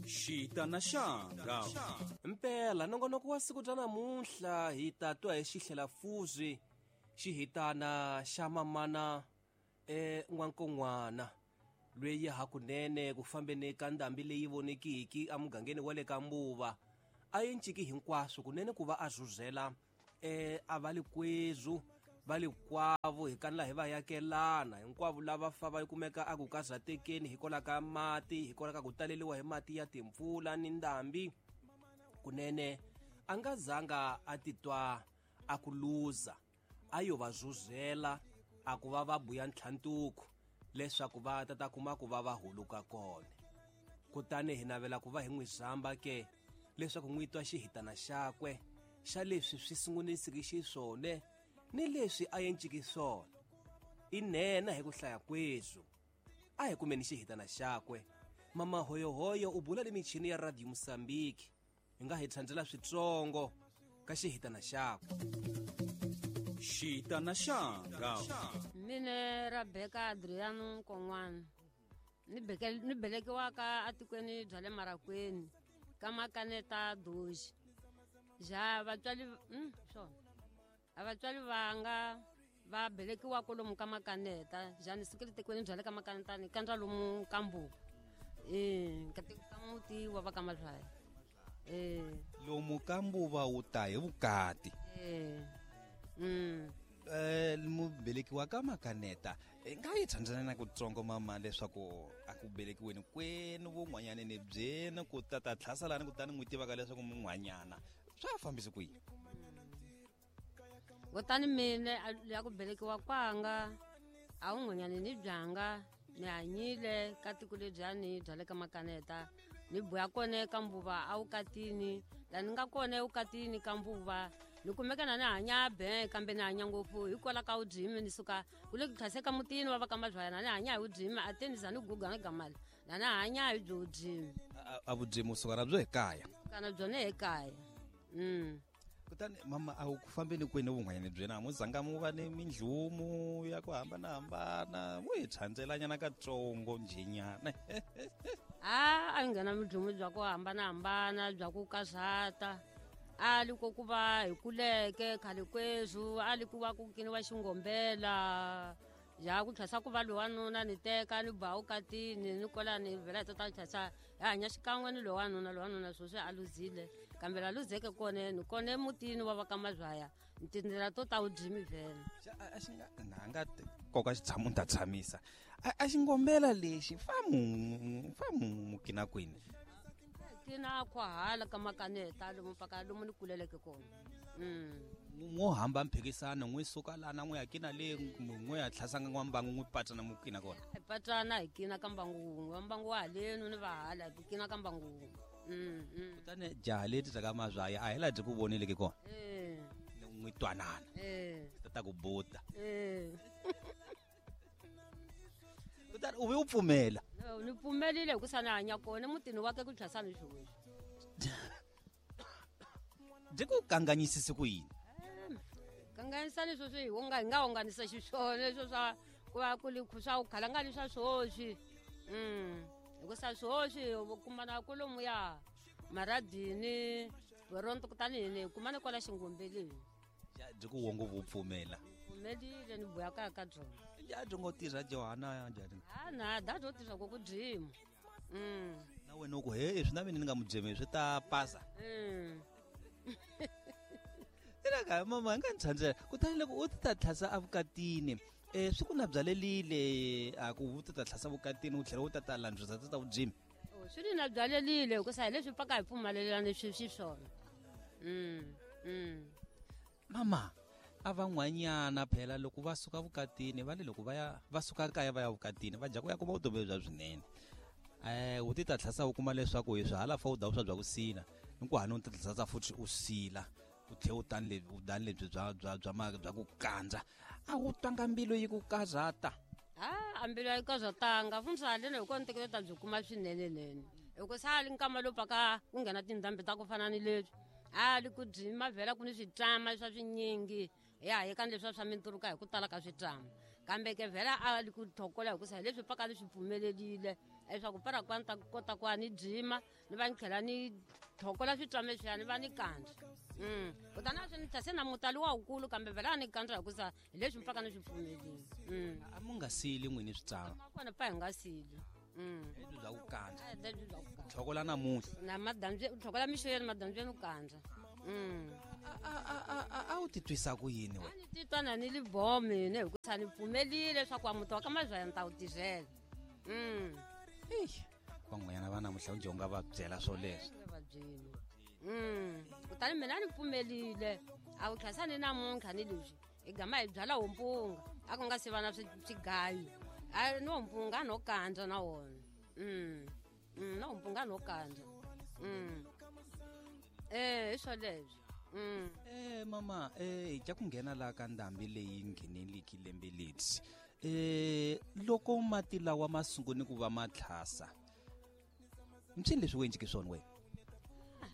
Xitana xanga. Mpela nongonoko wa siku ra namuntlha hi ta twa hi xihlelafuzi xihitana xa mamana n'wankon'wana lweyi hakunene ku fambeni ka ndhambi leyi vonekiki emugangeni wa le ka Mbuva a yi nciki hinkwaswo kunene ku va a zuzela a va likwezu va likwavo hi kanela hi va yakelana hinkwavo lava fa va kumeka a ku kazatekeni hikwalaho ka mati, hikwalaho ka ku taleliwa hi mati ya timpfula ni ndhambi. Kunene a nga zanga a titwa a ku luza, a yo va zuzela a ku va va buya ntlhantuku leswaku va ta ta kuma ku va va huluka kona. Kutani hi navela ku va hi n'wi zamba ke leswaku n'wi twa xihitana xakwe xa leswi swi sungunisiki xiswona ni leswi a enciki swona. I nhenha hi ku hlaya kwezu. A hi kumeni xihitana xakwe. Mama Hoyohoyo u bula le michini ya Radio Mozambique. Hi nga hi tsandzela switsongo ka xihitana xakwe. Xitana xanga. Mina Rebecca Adriano Nkon'wana. Ni belekiwaka atikweni bya le Marakweni ka Makaneta Doji. Ja vatswari, swona. A vatswari vanga va belekiwa kwalomu ka Makaneta, ja ni sukile tikweni bya le ka Makaneta ni kandza lomu ka Mbuva. Ka tiko ka muti wa va ka Mazwaya. Lomu ka Mbuva wu ta hi vukati. Mubelekiwa ka Makaneta, nga yi tsandzana na kutsongo mama leswaku a ku belekiweni kwenu vun'wanyana ni byenu ku ta ta tlhaselani kutani n'wi tivaka leswaku mun'wanyana swa fambisi ku yini? Kutani mina ya ku belekiwa kwanga a wun'wanyana ni byanga ni hanyile ka tiko lebyani bya le ka Makaneta, ni buya kona ka Mbuva a vukatini, la ni nga kona evukatini ka Mbuva ni kumeka na ni hanya be kambe ni hanya ngopfu hikwalaho ka vudyimi. Ni suka ku le ku tlhaseka mutini wa va ka Mazwaya na ni hanya hi vudyimi, a te ni za ni guga ni gamala na ni hanya hi byo vudyimi. A vudyimi u suka na byo ekaya? Suka na byona ekaya. Kutani mama a wu ku fambeni kwini vun'wanyana byena, mu zanga mu va ni mindlumu ya ku hambanahambana, mu hi tshantselanyana katsongo njhenyana. A yi nghena mindlumu bya ku hambanahambana bya ku kazata. A li ko ku va hi kuleke khale kweswo, a li ku va ku kiniwa xingombela ya ku tlhasa ku va lowanuna ni teka ni ba vukatini ni kola ni vhela hi tota tlhasa hi hanya xikan'we ni lowanuna. Lowanuna sweswi a luzile, kambe la luzeke kona ni kona emutini wa va ka Mazwaya tindlela to ta vudyimi vhele. A xi nga, na nga koka xitshamo ni ta tshamisa. A xingombela lexi fa mu, fa mu mukina kwini? Kina kwa hala ka Makaneta lomu paka lomu ni kuleleke kona. N'wo hamba mphikisano, n'wi suka lana n'wi ya kina le, n'wi ya tlhasanga n'wa mbangu, n'wi patsana mu kina kona. Hi patsana hi kina ka mbangu wun'we, wa mbangu wa halenu ni va hala hi kina ka mbangu wun'we. Kutani jaha leti ta ka Mazwaya a hi laha byi ku voneleke kona. N'wi twanana. Ta ta ku buta. Kutani u ve u pfumela. No, ni pfumelile hi ku sa ni hanya kona mutini wa ke ku tlhasa ni sweswi. Byi ku kanganyisise ku yini? Kanganyisa leswi swi hi hi nga hunganisa xiswona leswo swa ku va ku li swa ku khala nga ni swa swoswi. Hikusa swoswi u kumana kwalomuya maradini, Toronto, kutani hi ni kumana kwala xingombeleni. Ja, byi ku wongo vu pfumela. Pfumelile ni buya kaya ka byona. Ja, byi ngo tirha Johanna ya njhani? Ha, na, da byo tirha ku ku dyima. Na wena u ku, he, swi na mina ni nga mu dyemi, swi ta pasa. Ina ka mama nga ni tsandzela. Kutani loko u ti ta tlhasa evukatini, swi ku na byalelile a ku u ti ta tlhasa vukatini u tlhela u ta ta landzisa ta ta vudyimi. Oh, swi ni na byalelile hikusa hi leswi pfaka hi pfumalelana swi swona. Mama, a van'wanyana phela loko va suka vukatini, va le loko va ya, va suka kaya va ya vukatini, va dya ku ya kuma vutomi bya swinene. U ti ta tlhasa u kuma leswaku hi swi hala fa u da swa bya ku sila, ni ku hana u ti tlhasa futhi u sila, u tlhe u tani lebyi, u dani lebyi bya, bya, bya ma, bya ku kandza. A wu twanga mbilu yi ku kazata. Ha, a mbilu yi kazatanga. Fundza haleni hi kona ntekelo ta byi kuma swinene nene. Hikusa a li nkama lowu paka ku nghena tindhambi ta ku fana ni leswi. A li ku dyima vhela ku ni switlama swa swinyingi. Ya hi ka leswi swa minturuka hi ku tala ka switlama. Kambe ke vhela a li ku thokola hikusa hi leswi paka ni swi pfumelelile. Leswaku para ku a ni ta kota ku a ni dzima ni va ni tlhela ni tlhokola switswame swiya ni va ni kandza. Kutani a swi ni se na mutali wa wukulu kambe vhela a ni kandza hikusa hi leswi mi pfaka ni swi pfumelini. A mu nga sili n'wini switswame? Kona pa hi nga sili. Lebyi bya ku kandza. Lebyi bya ku kandza. Tlhokola namuntlha. Na madambi, tlhokola mixo ya madambi ya kandza. A wu titwisa ku yini wena? A ni titwa na ni li bomi ne hikusa ni pfumelile leswaku a muti wa ka Mazwaya ni ta wu tirhela. Eish, van'wanyana va namuntlha njhe u nga va byela swoleswo? Va byeli. Kutani mina ni pfumelile. A wu tlhasa ni namuntlha ni leswi. Hi gama hi byala wompunga. A ku nga se va na swigayo. A ni wompunga no kandza na wona. Na wompunga no kandza. Hi swoleswo. Mama, hi tya ku nghena laha ka ndhambi leyi ngheneliki lembe leri. Loko mati lawa ma sungule ku va ma tlhasa, mpsini leswi u endleke swona wena?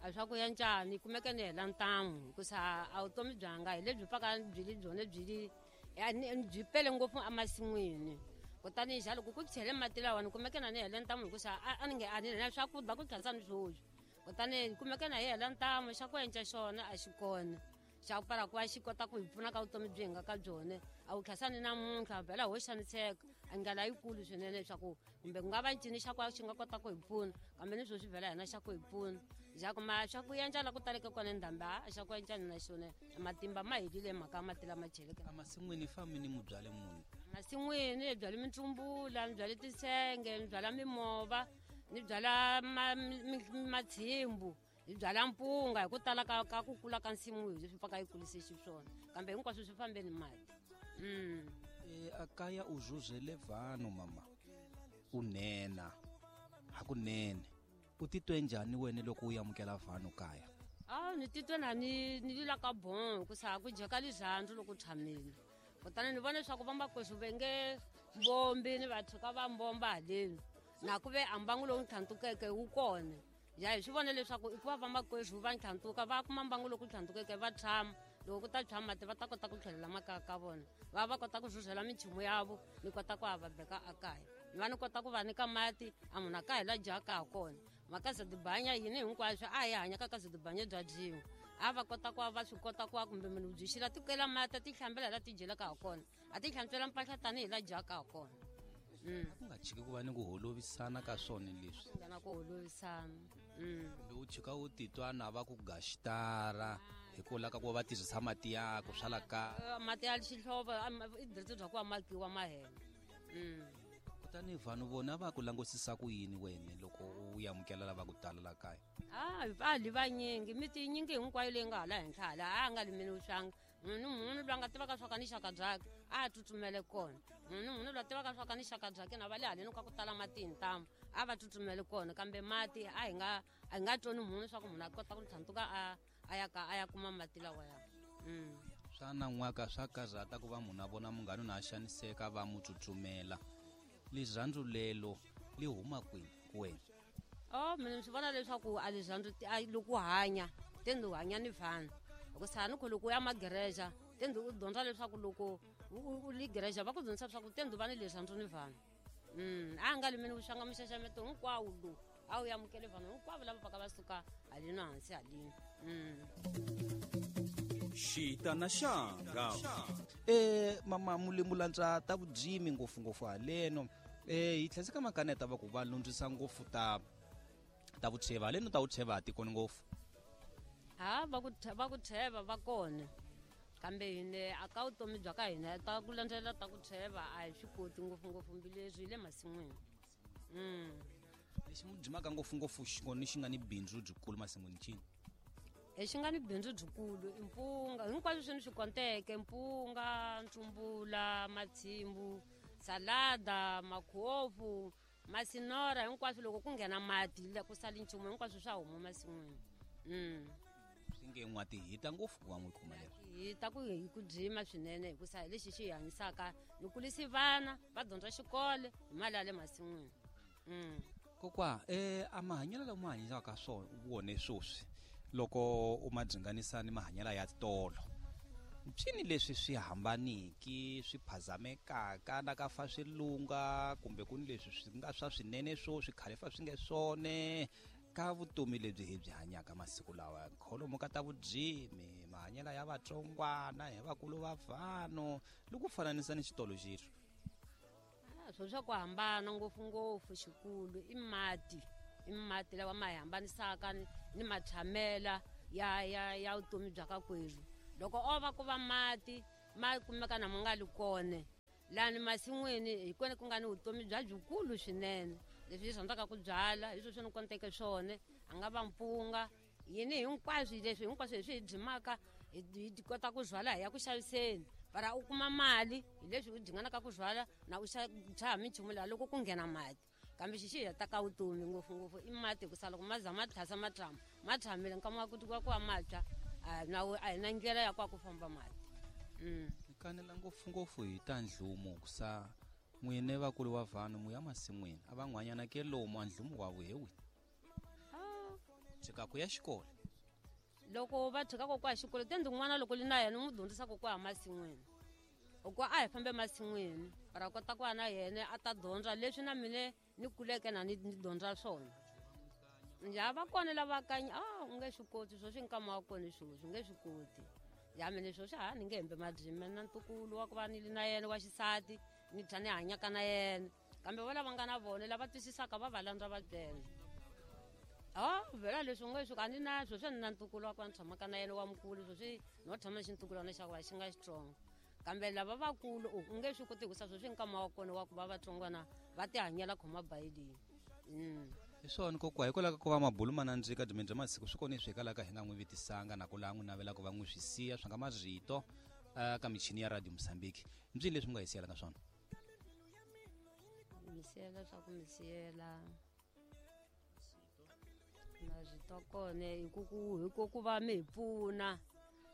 A swa ku ya njhani, kumeke ni hela ntamu hikusa a vutomi byanga hi lebyi pfaka byi li byona byi li, a ni, byi pele ngopfu emasin'wini. Kutani xa loko ku chele mati lawa ni kumeke na ni hela ntamu hikusa a ni nge a ni na swakudya ku tlhasa ni swoswi. Kutani kumeke na hi hela ntamu xa ku endla xona a xi kona. Xa ku para ku va xi kota ku hi pfuna ka vutomi byi hi nga ka byona. A wu tlhasa ni namuntlha vhela ho xaniseka. A ndlela yikulu swinene leswaku kumbe ku nga va ncini xa ku xi nga kota ku hi pfuna, kambe ni sweswi vhela hina xa ku hi pfuna. Xa ku ma xa ku endla la ku taleke kona ndhambi, a xa ku endla na xona. Matimba ma helile mhaka ya mati lama cheleke. Emasin'wini fambi ni mu byale muni? Emasin'wini hi byale mitsumbula, ni byale tisenge, ni byala mimova, ni byala matshimbu, hi byala mpunga hi ku tala ka ku kula ka nsimu hi leswi pfaka yi kulise xiswona. Kambe hinkwaswo swi fambe ni mati. A kaya u zuzele vanhu mama. U nena. Hakunene. U titwe njhani wena loko u amukela vanhu kaya? Ni titwe na ni lila ka bon hikusa ku dyeka lirhandzu loko u tshamile. Kutani ni vona leswaku vamakwerhu va nge mbombi ni va tshuka va mbomba haleni. Na ku ve a mbangu lowu tlhandlukeke wu kona. Ya hi swi vona leswaku i ku va vamakwerhu va ntlhandluka va kuma mbangu lowu tlhandlukeke va tshama. Loko ku ta tshwa mati va ta kota ku tlhelela makaya ka vona. Va va kota ku rhurhela minchumu yavo ni kota ku va beka ekaya. Ni va ni kota ku va nyika mati a munhu a ka hi la dyaka ha kona. Makaza tibanya yini hinkwaswo a hi hanya ka kaza tibanya bya dyiwa. A va kota ku va swi kota ku va kumbe munhu byi xila ti kela mati a ti hlambela la ti dyelaka ha kona. A ti hlantswela mpahla tanihi la dyaka ha kona. Ku nga chiki ku va ni ku holovisana ka swona leswi. Ku nga na ku holovisana. Kumbe u chika u titwa na va ku gaxitara hi ku lava ku va tirhisa mati ya ku swa la kaya. Mati ya xihlovo, i diretse bya ku va makiwa ma hela. Kutani vanhu vona va ku langusisa ku yini wena loko u amukela lava ku tala la kaya? A li vanyingi, miti yinyingi hinkwayo leyi nga hala henhla hala, a nga limeli vuxanga. Munhu munhu loyi a nga tivaka swa ka ni xaka byakhe, a tsutsumele kona. Munhu munhu loyi a tivaka swa ka ni xaka byakhe na va le haleni ka ku tala mati hi ntamu, a va tsutsumele kona. Kambe mati a hi nga tsoni munhu leswaku munhu a kota ku tlhandluka a ya ka, a ya kuma mati lawa ya. Swa nan'waka swa karhata ku va munhu a vona munghana na a xaniseka va mu tsutsumela. Lirhandzu lelo li huma kwini ku wena? Mina ni swi vona leswaku a lirhandzu a loko u hanya, te ni hanya ni vanhu. Hikusa ni ku loko u ya magereja, te ni u dyondza leswaku loko u li gereja va ku dyondzisa leswaku te ni va ni lirhandzu ni vanhu. A nga limeni vuxanga muxaxameto hinkwawo lowu, a wu amukele vanhu hinkwavo lava pfaka va suka haleni hansi haleni. Xita na xanga. Mama Mulimu landza ta vudzimi ngopfungopfu haleno. Hi tlhela ka makaneta va ku va lundzisa ngopfu ta vutsheva haleno, ta vutsheva a tikoni ngopfu. Ha, va ku tsheva va kona. Kambe hine a ka vutomi bya ka hina ta ku landzelela ta ku tsheva a hi swi koti ngopfungopfu mbileswi hi le masin'wini. Lexi mu dzimaka ngopfungopfu xikoni xi nga ni bindzu byikulu masin'wini cini? Lexi nga ni bindzu byikulu i mpunga, hinkwaswo swi ni swi konteke, mpunga, ntsumbula, matshimbu, salada, makhofu, masinora, hinkwaswo loko ku nghena mati la ku sali nchumu hinkwaswo swa huma masin'wini. Swi nge n'wa ti hita ngopfu ku va n'wi kuma leswi. Hi ta ku hi ku dzima swinene hikusa hi lexi xi hi hanyisaka, ni kulisi vana va dyondza xikolo hi mali ya le masin'wini. Kokwa, a mahanyelo lama hanyisaka swona wona sweswi loko u ma dzinganisa ni mahanyelo ya tolo, Mpyini leswi swi hambaniki swi phazamekaka na ka fa swi lunga kumbe ku ni leswi swi nga swa swinene swo swi khale fa swi nge swone ka vutomi lebyi hi byi hanyaka masiku lawa. Kholomo ka ta vudzimi mahanyelo ya vatsongwana hi vakulu va vanhu loko fananisa ni xitolo xexo. Swo swa ku hambana ngopfungopfu xikulu i mati lawa ma hi hambanisaka ni matshamela ya vutomi bya ka kweru. Loko o va ku va mati ma kumeka na ma nga li kone lani masin'wini hi kona ku nga ni vutomi bya byikulu swinene. Leswi hi rhandzaka ku byala hi sweswi ni konteke swona, a nga va mpunga yini hinkwaswo leswi hinkwaswo leswi hi byimaka hi kota ku byala hi ya ku xaviseni para u kuma mali hi leswi u dyinganaka ku byala na u xava minchumu laha loko ku nghena mati. Kambe xi xi heta ka vutomi ngopfungopfu i mati hikusa loko ma za ma tlhasa ma tshama ma tshamile nkama wa ku ku va ma tshwa a hi na ndlela ya ku famba mati. Kanela ngopfungopfu hi ta ndlumo kusa n'wine vakulu wa vanhu mu ya masin'wini a van'wanyana ke lomu a ndlumo wa vuhewi tshika ku ya xikolo. Loko va tshika ku ya xikolo te ndin'wana loko li na yena u n'wi dyondzisa ku ya masin'wini ku a hi fambe masin'wini para kota ku va na yena a ta dyondza leswi na mina ni kuleke na ni dyondza swona. Ya va kona lava kanya u nge swi koti sweswi nkama wa kona sweswi u nge swi koti. Ya mina sweswi ha ni nge hembe madzima na ntukulu wa ku va ni na yena wa xisati ni tlha ni hanyaka na yena kambe va lava nga na vona lava twisisaka va va landza va byela. Vhela leswi u nge swi a ni na sweswi ni na ntukulu wa ku va ni tshamaka na yena wa mukulu sweswi no tshama xintukulwana xa ku va xi nga xitsongo kambe lava vakulu u nge swi koti hikusa sweswi nkama wa kona wa ku va vatsongwana va tihanyela khoma bayilini. Hi swona kokwa hikwalaho ka ku va mabulu ma nandzika byi bya masiku swi kona leswi hikwalaho ka hi nga n'wi vitisanga na ku laha n'wi navela ku va n'wi swi siya swi nga marito ka michini ya Radio Mozambique. Mbyi leswi mi nga hi siyela ka swona? Mi siyela swa ku mi siyela marito kona hi ku va mi hi pfuna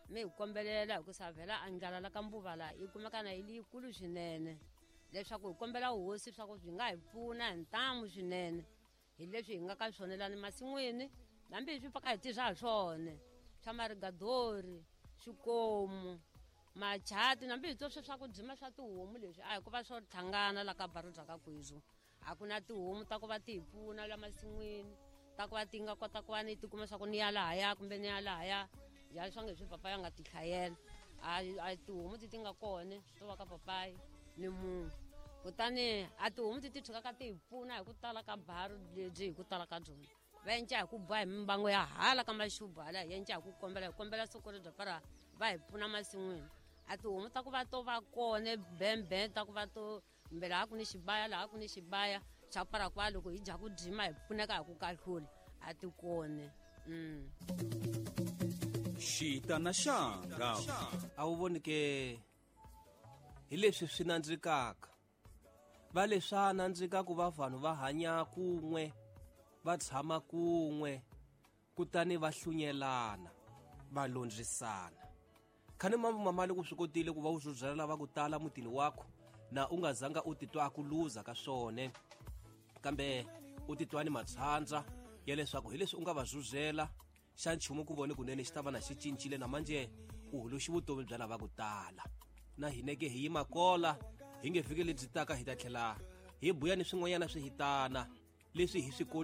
mi hi kombelela hikusa vhela a ndlala la ka mbuva laha yi kumeka na yi leyikulu swinene leswaku hi kombela hosi swa ku byi nga hi pfuna hi ntamu swinene hi leswi hi nga ka swona lani masin'wini hambi hi swi pfaka hi tirha hi swona swa marigadori swikomu machati hambi hi to swe swa ku dzima swa tihomu leswi a hi ku va swo tlhangana la ka baru bya ka kwezu. A ku na tihomu ta ku va ti hi pfuna la masin'wini ta ku va ti nga kota ku va ni tikuma swa ku ni ya lahaya kumbe ni ya lahaya ya swa nge swi papa ya nga ti hlayela a tihomu ti ti nga kona to va ka papayi ni munhu kutani a tihomu ti ti tshikaka ti hi pfuna hi ku tala ka baru lebyi hi ku tala ka byona va enca hi ku boha hi mimbango ya hala ka maxubu hala hi enca hi ku kombela hi kombela soko ri bya para va hi pfuna masin'wini. A tihomu ta ku va to va kona bembe ta ku va to kumbe laha ku ni xibaya laha ku ni xibaya xa para kwa loko hi dya ku dzima hi pfuneka hi ku kahlula a ti kona. Xita na xanga a wu voni ke hi leswi swi nandzikaka va leswa nandzika ku va vanhu va hanya kun'we va tshama kun'we kutani va hlunyelana va londzisana. Khani mamali ku swi kotile ku va u zuzela lava ku tala mutini wakho na u nga zanga u titwa a ku luza ka swona kambe u titwa ni matshandza ya leswaku hi leswi u nga va zuzela xa nchumu ku vone kunene xi ta va na xi cincile na manje u huluxi vutomi bya lava ku tala. Na hineke hi yima kola hi nge vhiki lebyi taka hi ta tlhela hi buya ni swin'wanyana swi hitana leswi hi swi